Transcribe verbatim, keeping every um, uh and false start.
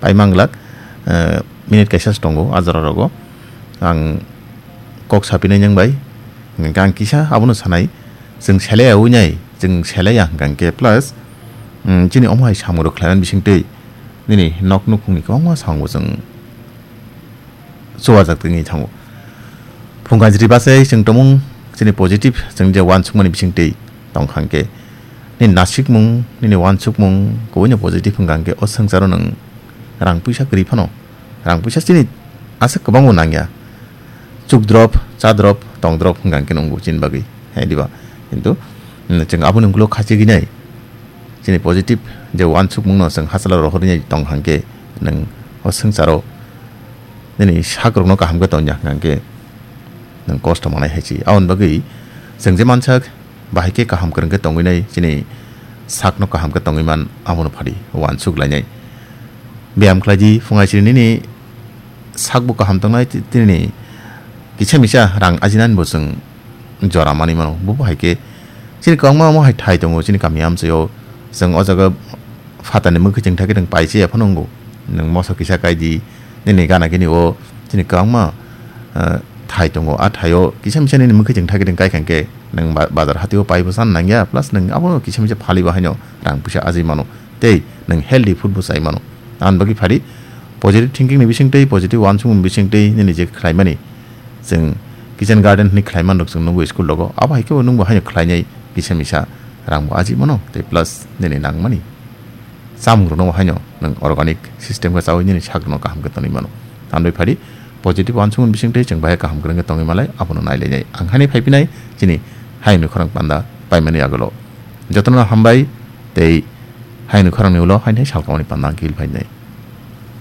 Paimang glak, eh, minute kaisa se tongo a jora rogo. Ang kok sapinai nang bai, hingkhe ang kisa abono sanai, chwng selai awi nai, chwng selai ya hingkha hingkhe plus, mm, chini omo hai samung rok khlaimani bisingtwi nini nok nukhungni kwbangma samung bo chwng chuwajak tongwi thango. Phung kanjri bachai chwng tongmung chini positive chwng je uansukmani bisingtwi tongkha hwnkhe, nini nasikmung, nini uansukmung kubuino positive wngkha hwnkhe o swngcharo nwng rang puisa kwrwi phano, rang puisa chini aswk kwbangbo nangya. Chukdrop, chadrop, tongdrop wngkha hwnkhe nwngo chini bagwi, hai diba? Kintu, mm, chwng aboni ulo khachigwi nai chini positive je uansukmungno chwng hachalo rohorwi nai tongkha hwnkhe nwng o swngcharo nini sakrokno kaham khe tongya hwnkha hwnkhe nwng kosto manai hai se. Aboni bagwi chwng je mansak bahai khe kaham kwrwng khe tongwi nai, chini sakno kaham khe tongwi man, abono phadi uansuk lainai. Beyam khlai di, phung aisiri nini sakbo kaham tongnai, ti-, tini kisa misa rang ajinani bo chwng jora manwi mano. Bo bo hai khe chini kwbangma omo hai thai tongo chini kami amchaio. Chwng o jaga phatarni mwkhwi chwng thakhe nwng pai se ya phano wngo. Nwng moso kisa kai di, nini gana gini o chini kwbangma, eh, thai tongo. A thaio kisa misa nini mwkhwi chwng thakhe nwng kai kha hwnkhe nwng ba-, bazar hatio pai bo chan nangya, plus nwng abo kisa misa phali bo haino rang puisa ajai mano. Tei nwng healthy food bo chai mano. Aboni bagwi phadi positive thinking ni bisingtwi, positive uansukmung ni bisingtwi nini je khlaimani, chwng kitchen garden hwnwi khlai man rok chwng nukgo school rogo. Abo hai khe bo nwng bo haino khlainai kisa misa rang bo ajai mano tei plus nini nangmani chamung rokno bo haino nwng organic system khe chaui nini sak rokno kaham khe tonwi mano. Tamni phadi positive uansukmung ni bisingtwi chwng bahai kaham kwrwng khe tongwi malai abono nai lainai. Ang haino phai phinai chini hayungni khorang panda paimani agulo. Jotono hambai tei hayungni khorangni ulo haino salkamani panda ang khe phai nai.